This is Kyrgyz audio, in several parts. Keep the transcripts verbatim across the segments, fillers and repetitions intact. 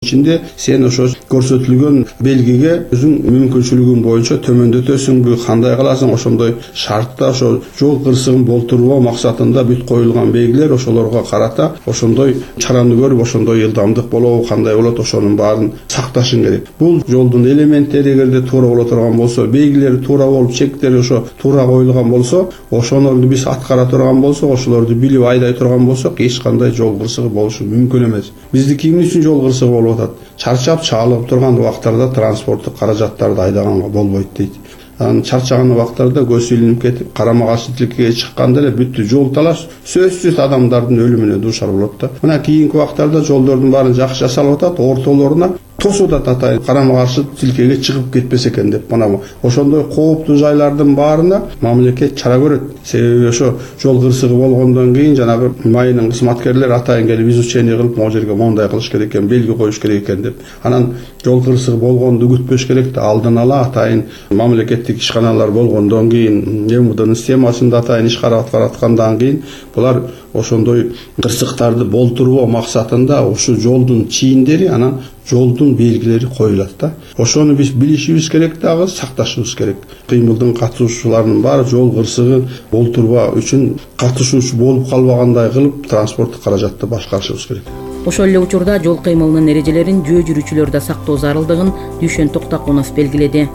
ичинде сен ошо көрсөтүлгөн белгиге өзүң мүмкүнчүлүгүң боюнча төмөндөтөсүңбү, кандай кыласың, ошондой шартта ошо жол кырсыгын болтурбоо максатында бүт коюлган белгилер ошолорго карата ошондой чараны көрүп, ошондой ылдамдык болобу, кандай болот, ошонун баарын сакташың керек. Бул жолдун элементтери эгерде туура боло турган болсо, белгилери туура болуп, чектери ошо туура коюлган болсо, ошолорду биз аткара турган болсок, ошолорду билип айдай турган болсок, эч кандай жол кырсыгы болушу мүмкүн эмес. Биздики эмне үчүн жол кырсыгы болуп атат? Чарчап чаалып турган убактарда транспорттук каражаттарды айдаганга болбойт дейт. Анан чарчаган убактарда көз илинип кетип, карама каршы тилкеге чыкканда эле бүттү жол талаш сөзсүз адамдардын өлүмүнө дуушар болот да. Мына кийинки убактарда жолдордун баарын жакшы жасалып атат, ортолоруна тосуп атат атайын карама каршы тилкеге чыгып кетпесе экен деп. Мына ошондой кооптуу жайлардын баарына мамлекет чара көрөт. Себеби ошо жол кырсыгы болгондон кийин жанагы майынын кызматкерлери атайын келип изучение кылып, могу жерге мондай кылыш керек экен, белги коюш керек экен деп. Анан жол кырсыгы болгонду күтпөш керек да, алдын ала атайын мамлекеттик ишканалар болгондон кийин, эм у днын системасында атайын иш карап аткандан кийин булар ошондой кырсыктарды болтурбоо максатында ошо жолдун чийиндери, анан жолдун белгилери коюлат да. Ошону биз билишибиз керек дагы, сакташыбыз керек. Кыймылдын катышуучуларынын баары жол кырсыгы болтурбоо үчүн катышуучу болуп калбагандай кылып транспорттук каражатты башкарышыбыз керек. Ошол эле учурда жол кыймылынын эрежелерин жөө жүрүүчүлөр да сактоо зарылдыгын Дүйшөн Токтакунов белгиледи.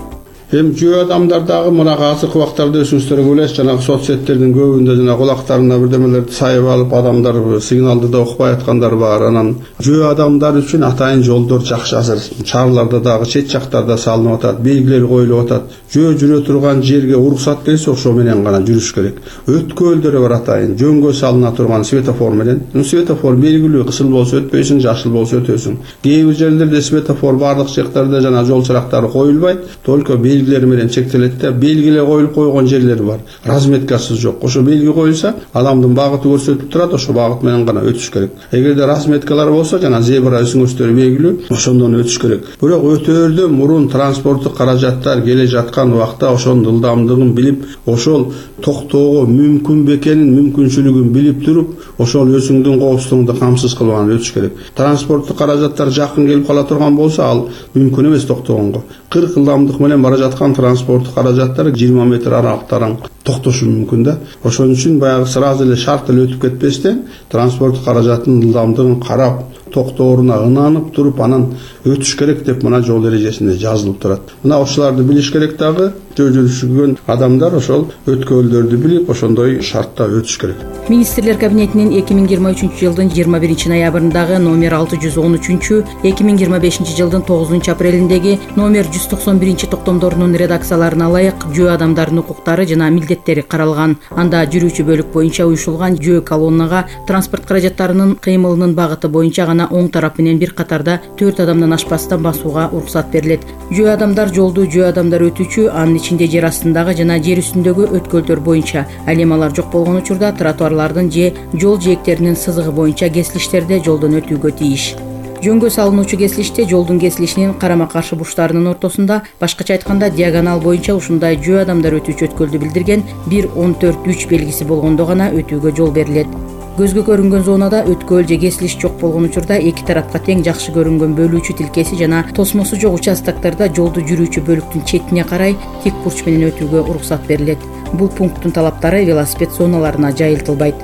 Эми жөө адамдар дагы мына азыркы убактарда өзүңүздөр билесиз, жанагы соц сеттердин көбүндө жана кулактарына бирдемелерди сайып алып, адамдар сигналды да укпай аткандар бар. Анан жөө адамдар үчүн атайын жолдор жакшы азыр. Шаарларда дагы чет жактарда салынып атат, белгилер коюлуп атат. Жөө жүрө турган жерге уруксат келсе, ошо менен гана жүрүш керек. Өткөлдөр бар атайын, жөнгө салына турган светофор менен. Светофор белгилүү, кысыл болсо өтпөйсүң, жашыл болсо өтөсүң. Кээ бир жерлерде светофор бардык жактарда жана жол чырактары коюлбайт, только белгилер менен чектелет да, белгилер коюлуп койгон жерлер бар. Разметкасы жок. Ошо белги коюлса, адамдын багыты көрсөтүлүп турат, ошо багыт менен гана өтүш керек. Эгерде разметкалар болсо, жана зебра өсүңүчтөр белгилүү, ошондон өтүш керек. Бирок өтөөрдөн мурун транспорттук каражаттар келе жаткан убакта ошонун ылдамдыгын билип, ошол токтоого мүмкүн бекенин, мүмкүнчүлүгүн билип туруп, ошол өзүңдүн коопсуздугуңду камсыз кылбаган өтүш керек. Транспорттук каражаттар жакын келип кала турган болсо, ал мүмкүн эмес токтогонго. кырк ылдамдык менен бара жаткан транспорттук каражаттар жыйырма метр аралыктан токтошу мүмкүн да. Ошон үчүн баягы сразу эле шарт эле өтүп кетпестен транспорттук каражаттын ылдамдыгын карап, токтооруна ынанып туруп, анан өтүш керек деп мына жол эрежесинде жазылып турат. Мына ошолорду билиш керек дагы. Жөө жүрүшүгөн адамдар ошол өткөлдөрдү билип, ошондой шартта өтүш керек. Министрлер кабинетинин эки миң жыйырма үчүнчү жылдын жыйырма биринчи ноябрындагы номер алты жүз он үчүнчү, эки миң жыйырма бешинчи жылдын тогузунчу апрелиндеги номер жүз токсон биринчи токтомдорунун редакцияларына ылайык жөө адамдарынын укуктары жана милдеттери каралган. Анда жүрүүчү бөлүк боюнча уюшулган жөө колоннага транспорт каражаттарынын кыймылынын багыты боюнча гана оң тарап менен бир катарда төрт адамдан ашпастан басууга уруксат берилет. Жөө адамдар жолду жөө адамдар өтүүчү, анын ичинде жер астындагы жана жер үстүндөгү өткөлдөр боюнча, ал эми алар жок болгон учурда тротуарлардын же жол жээктеринин сызыгы боюнча кесилиштерде жолдон өтүүгө тийиш. Жөнгө салынуучу кесилиште жолдун кесилишинин карама каршы бурчтарынын ортосунда, башкача айтканда диагонал боюнча ушундай жөө адамдар өтүүчү өткөлдү билдирген бир он төрт үч белгиси болгондо гана өтүүгө жол берилет. Көзгө көрүнгөн зонада өткөл же кесилиш жок болгон учурда эки тарапка тең жакшы көрүнгөн бөлүүчү тилкеси жана тосмосу жок участоктарда жолду жүрүүчү бөлүктүн четине карай тик бурч менен өтүүгө уруксат берилет. Бул пункттун талаптары велосипед зоналарына жайылтылбайт.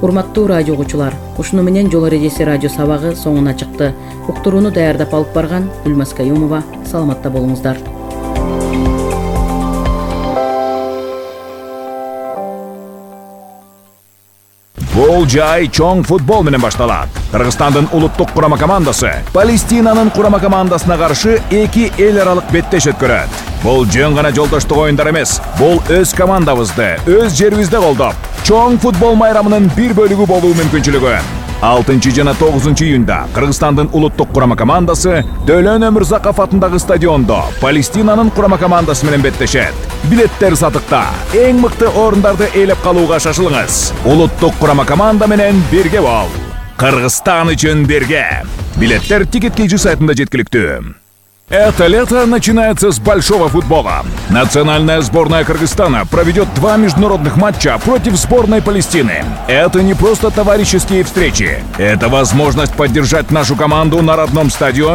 Урматтуу радио угуучулар, ушуну менен жол эрежеси радио сабагы соңуна чыкты. Уктурууну даярдап алып барган Гүлмаз Каюмова. Саламатта болуңуздар. Бул жай чоң футбол менен башталат. Кыргызстандын улуттук курама командасы Палестинанын курама командасына каршы эки эл аралык беттеш өткөрөт. Бул жөн гана жолдоштук оюндар эмес. Бул өз командабызды, өз жерибизде колдоп, чоң футбол майрамынын бир бөлүгү болуу мүмкүнчүлүгү. алтынчы жана тогузунчу июнда Кыргызстандын улуттук курама командасы Дөлөн Өмүрзаков атындагы стадиондо Палестинанын курама командасы менен беттешет. Билеттер сатыкта. Эң мыкты орундарды ээлеп калууга шашылыңыз. Улуттук курама команда менен бирге бол. Кыргызстан үчүн бирге. Билеттер Ticket кей джи сайтында жеткиликтүү. Это лето начинается с большого футбола. Национальная сборная Кыргызстана проведет два международных матча против сборной Палестины. Это не просто товарищеские встречи. Это возможность поддержать нашу команду на родном стадионе